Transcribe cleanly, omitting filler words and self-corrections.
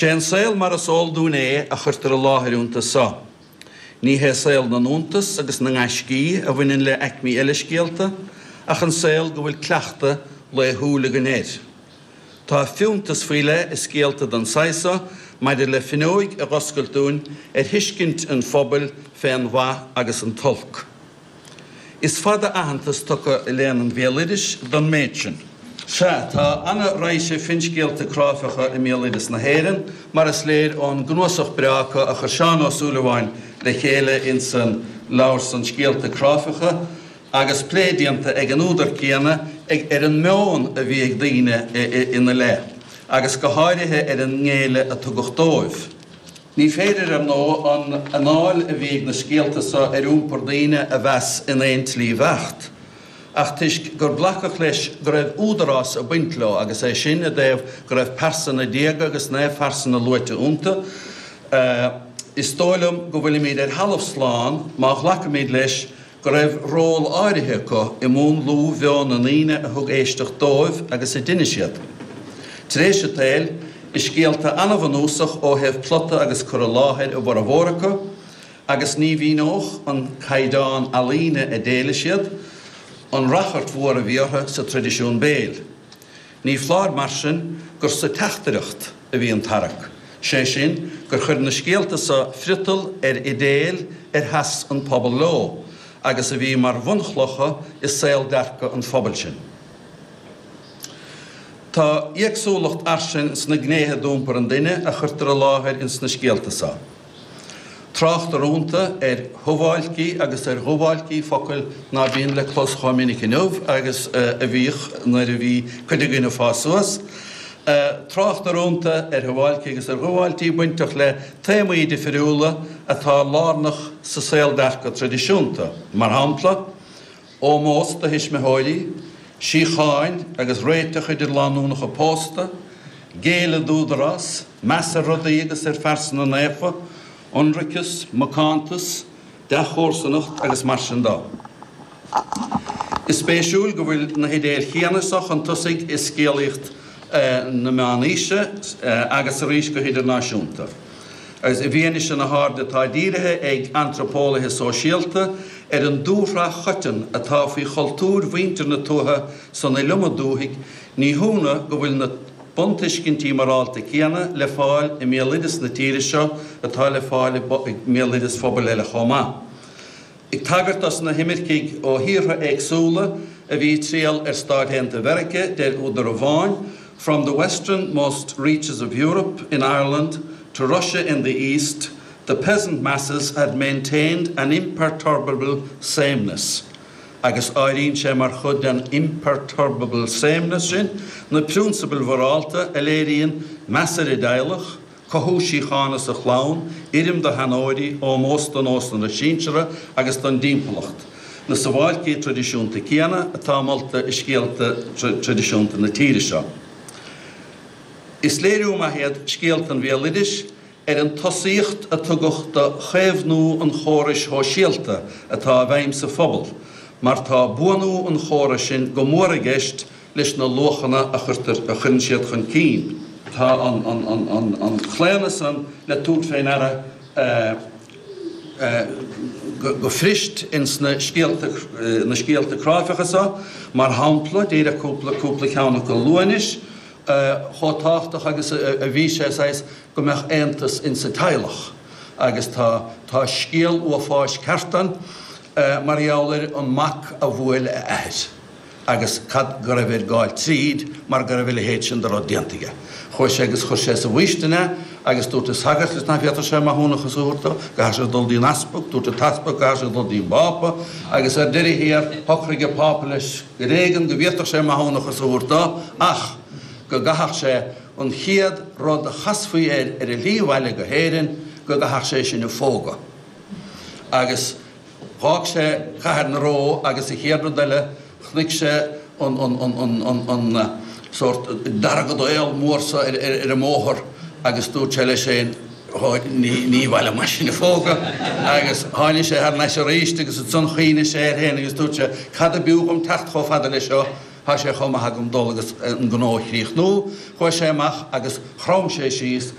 Sé an saol mar is eol dúinn é a chuirtear i láthair iontu so. Ní hé saol na n-iontas agus na ngaiscí a bhaineann le aicmí eile scéalta, ach an saol go bhfuil cleachtadh laethúil againn air. Tá fiúntas faoi leith i scéalta den saghas so maidir le finneoig a dh'oscailt dúinn ar thuiscint an phobail fén mhaith agus an t-olc. Is fada aitheantas tugtha i léann an bhéaloidis don méid sin. Sea, tá ana-raidhse finscéalta cráifeacha i mbéaloideas na hÉireann, mar is léir ón gcnuasach breá acu a chuir Seán Ó Súilleabháin le chéile insan leabhar san Scéalta Cráifeacha, agus plé déanta ag an údar céanna ag ar an meon a bhí ag daoine ina leith, agus go háirithe ar an ngéilleadh a tugadh dóibh. Ní féidir, ar ndóigh, an anáil a bhí ag na scéalta so ar iompar daoine a mheas in aon tslí bheacht, ach toisc gur glacadh leis go raibh údarás ag baint leo, agus é sin i dtaobh go raibh pearsana diaga agus naomhphearsana luaite iontu, is dóigh liom go bhfuilimid ar thalamh slán má ghlacaimid leis go raibh ról áirithe acu i múnlú mheon na ndaoine a thug éisteacht dóibh agus a d'inis iad. Tar éis an tsaoil, is scéalta an-bhunúsach ó thaobh plota agus cur i láthair a bhformhór acu, agus ní mhíneodh an caighdeán ealaíne a d'éiligh siad, an rachairt mhór a bhí orthu sa traidisiún béil. Ní foláir, mar sin, gur sa teachtaireacht a bhí an tarrac, sé sin, gur chuir na scéalta so friotal ar idéil ar sheas an pobal leo, agus a bhí mar bhunchlocha i saoldearcadh an phobail sin. Tá éagsúlacht fhairsing sna gnéithe d'iompar an duine a chuirtear i láthair ins na scéalta so. Tráchtar iontu ar shubháilcí agus ar dhubháilcí, focail ná bíonn le clos chomh minic inniu agus a bhíodh nuair a bhí cuid againn ag fás suas. Tráchtar iontu ar shubháilcí agus ar dhubháiltí bainteach le téamaí difiriúla atá lárnach sa saoldearcadh traidisiúnta, mar shampla, ómós do thuismitheoirí, síocháin agus réiteach idir lánúnacha pósta, géilleadh d'údarás, meas ar rudaí agus ar phearsana naofa, ionraiceas, macántas, dea-chomharsanacht agus mar sin de. Is spéisiúil go bhfuil na hidéil chéanna so chun tosaigh i scéalaíocht na Meánaoise agus arís go hidirnáisiúnta. Agus i bhfianaise na hairde atá dírithe ag antraipeolaithe sóisialta ar an dúshraith choiteann atá faoi chultúir mhuintir na tuaithe san iliomad dúthaigh, ní hionadh go bhfuil na buntuiscintí morálta céanna le fáil i mbéaloideas na tíre seo atá le fáil i mbéaloideas phobail eile chomh maith. Ag tagairt dos na himircigh ó thíortha éagsúla a bhí ag triall ar Stáit Aontaithe Mheirice, deir údar amháin, From the westernmost reaches of Europe in Ireland to Russia in the East, the peasant masses had maintained an imperturbable sameness. Agus áiríonn sé mar chuid den imperturbable sameness sin na prionsabail mhorálta a léiríonn meas ar an dteaghlach, cothú síochána sa chlann, urraim do sheanóirí, ómós do nósanna sinseartha agus don dtimpeallacht, na sabháilcí traidisiúnta céanna atá molta i scéalta traidisiúnta na tíre seo. Is léiriú maith iad scéalta an bhéaloidis ar an tosaíocht a tugadh do chaomhnú an chórais shóisialta atá i bhfeidhm sa phobal, mar tá buanú an chórais sin go mór i gceist leis na luachanna a chuirtear, a chuireann siad chun cinn. Tá an claonadh san le tabhairt fé ndeara go fuirist ins na scéalta, na scéalta cráifeacha so, mar shampla, díreach cúpla, cúpla ceann acu a lua anois, chomh tábhachtach agus a bhí sé saghas go mbeadh aontas ins an teaghlach agus tá, tá scéal uafáis ceart ann mar gheall ar an mac a bhuail a athair. agus cad go raibh air gabháil tríd mar go raibh a leithéid sin de rud déanta aige. Chuaigh sé agus chuir sé sa bhfaoistin é agus dúirt an sagart leis nach bhféadfadh sé maithiúnachas a thabhairt dó, go gcaithfeadh sé dul dtí an easpag, dúirt an t-easpag go gcaithfeadh sé dul dtí an bPápa agus ar deireadh thiar shocraigh an Pápa leis gur éigean go bhféadfadh sé maithiúnachas a thabhairt dó ach go gcaithfeadh sé an chéad rud a chasfaí air ar a shlí abhaile go hÉirinn go gcaithfeadh sé sin a phógadh. Agus. Dh'fhág sé Cathair na Ró agus an chéad rud eile chonaic sé an an sórt deargadaol mór so ar an mbóthar agus dúirt sé leis féin ní ní mhaith liom é sin a phógadh agus tháinig sé thar n-ais arís agus ansan chuimhnigh sé air féin agus dúirt sé cad a b'fhiú dhom teacht chomh fada leis seo tá sé chomh maith agam dul agus an gnó a chríochnú. Chuaigh sé amach agus chrom sé síos.